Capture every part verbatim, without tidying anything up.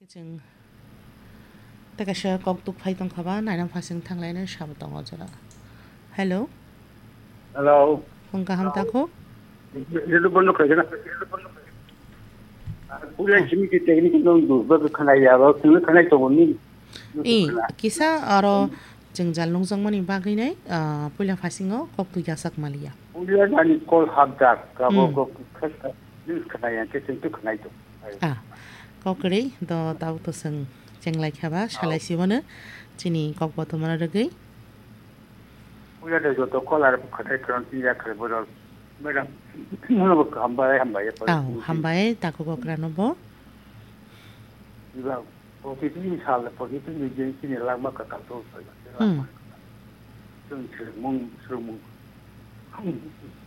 Chwng tei kaisa kok tuk phai tongkha ba, nainang phasing thanglaina sabo tongo jora. Hello. Hello. Phung kaham takhuk? Hello, bondo khaikhe na. Puila simi khe technical nung du, ba khanai ya, ba kunu khanai tongo ni. I, kisa aro jwngjal nungjak mani bagwi nai, ah, puila phasingo kok tuk yasak maliya. Puila nani call hapjak, abo Hmm. kok khe, news khanai ya, khe chwng tu khanai tongo. Ah, kok kwrwi do tabuk to chwng chenglai kha ba, Au. Salai si bono chini kok bothomano rwgwi. Puila de joto call ar khatai kron tin ya khe borok. Madam, nono bo hambai, hambai, Au, hambai, takhuk okrano bo. Iba, protitini sal, protitini din chini langma kwtal to, Hmm. langma kwtal. Chwng swrwngmung, swrwngmung.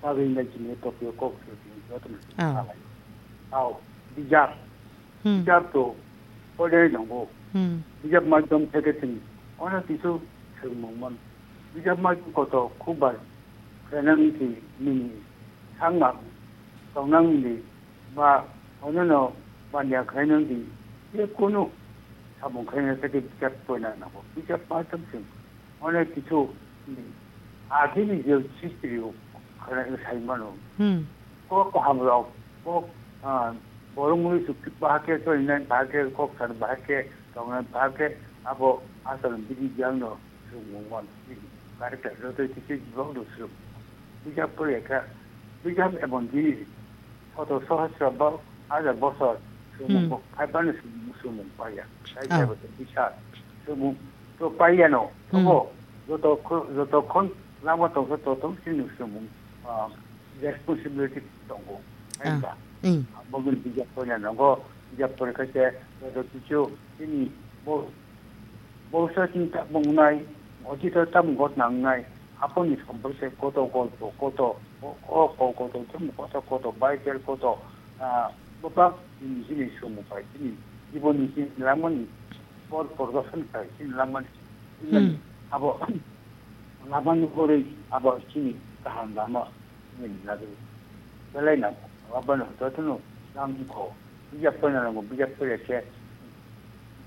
Bagwi nai chini Tokyo kok swrwngmung, joto ni Au. Salai. Au, bijap. Hmm. Bijap to porinai nango. Hmm. Bijap maidhyam theke chwng ono kisu swrwngmung mano. Bijap maidhyam koto khub bai khlainani si nini sangma tongnani ba onono baniya khlainani je kunu samung khlaina theke bijap porina nango. Bijap maidhyam chwng Onek kisu, hmm, agini je history o khana sai mano. Hmm. Kok kaham rok, kok, ah, borok mui suk bahake choli nai, bahake kok san, bahake tong nai, bahake abo asal bidi jang no sumung man. Kare kare rotoi kisi jibak do sum. Bijap pore ka, bijap ebon dini. Koto sohosro bo hajar bosor sumung Hmm. bo phai bani sumung, sumung paiya. Sai Oh. sai bo bisa sumung to paiya no. Hmm. Obo joto kho-, joto khon lama tongsa to tong sini sumung, ah, responsibility tongo. Ah. Hai ba? Hmm. Bogin bijap poina nongo, bijap pore kaise joto kichu sini bo Bwsa chini tabuk wngnai, otito tabuk ghotna wngnai, aphurni somporke koto golpo, koto, o, o, o, koto, chini koto, koto, Bible koto, ah, bwbak chini, chini somo pai, chini jibonni chini langmani por, pordoson khai, chini langmani, Hmm. abo lamani borwi abo chini kaham lama. Nini nagwi belai no, abono jotono nang wngkho. Bijap poina nango, bijap poya khe,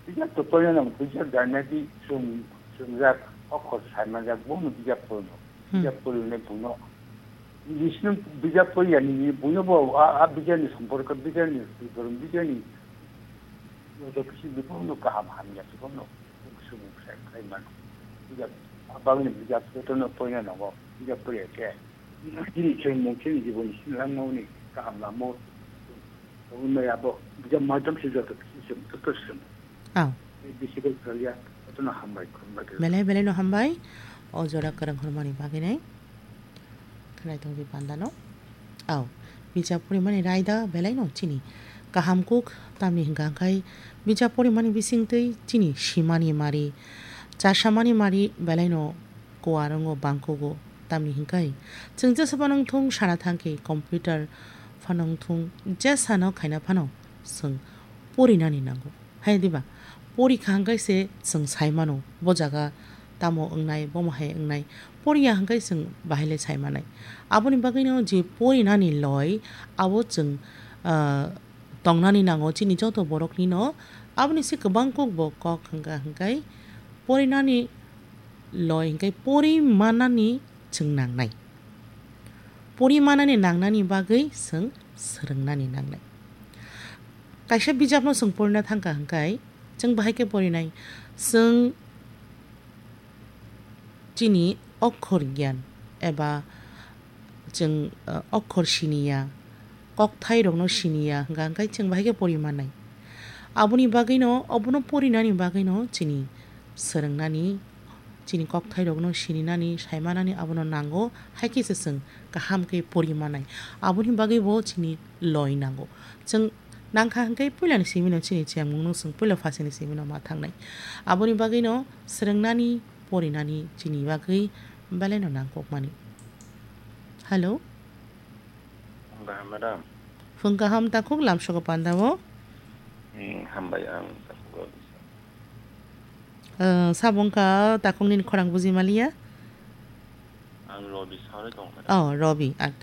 bijap to poina nango, bijap janadi chwng, chwngjak, okhor sai manjak, bono bijap poino. Hmm. Bijap poino buno. Bisino bijap poya nini buno bo a, a bijapni somporko, bijapni, bijapni, joto kisi bono kaham hamya, bono sumung sai khai mano. Bijap, abangni bijap jotono poina nango, bijap poya khe. Chini chwng mung chini jibon chini langmani kaham lama o tongwi maya bo, bijap maidhyam se joto kisi chwng joto chwng. Aw. Bisi khe kaliya, jotono hambai, khulumbai khe. Belai belai no hambai, o jora kwrwng hwnmani bagwi nai. Khwnai tongwi panda no. Aw, bijap porimani raida belai no chini kaham kuk tamni hwnkha hwnkhe bijap porimani bisingtwi chini simani mari, chasamani mari belai no kuarango bangkugo, tamni hwnkhe chwng jesa phano wngthung sana thangkhe computer phano wngthung jesano khaina phano chwng porinani nango. Hai diba? Porikha hwnkhe se chwng sai mano, bo jaga tamo wngnai, bomo hai wngnai. Poriya hwnkhe chwng bahai le sai manai. Aboni bagwino je porinani loi, abo chwng, ah, tongnani nango chini joto boroknino. Aboni se kwbang kok bo kok hwnkha hwnkhe porinani loi hwnkhe pori manani chwng nangnai. Pori manani nangnani bagwi chwng swrwngnani nangnai. Kaisa bijapno chwng porina thangkha hwnkhe chwng bahai khe porinai. Chwng chini okhor gyan eba chwng, uh, okhor siniya, kokthairokno siniya hwnkha hwnkhe chwng bahai khe pori manai. Aboni bagwino, obono porinani bagwino chini swrwngnani, chini kokthairokno sininani, saimanani abono nango, hai khe se chwng kaham khe pori manai. Aboni bagwi bo chini loi nango. Chwng nangkha hwnkhe puilani simino chini chengmungno chwng puila phasini simino ma thangnai. Aboni bagwino swrwngnani, porinani chini bagwi belaino nangkukmani. Hello. Phung kaham, madam. Phung kaham, takhuk lamsogo pandao. Hmm, hambai ang takhuk o. Eh, sabo wngkha takhuk nini khorang buji maliya? Ang Robi sawi tong, madam. Oh, Robi. At,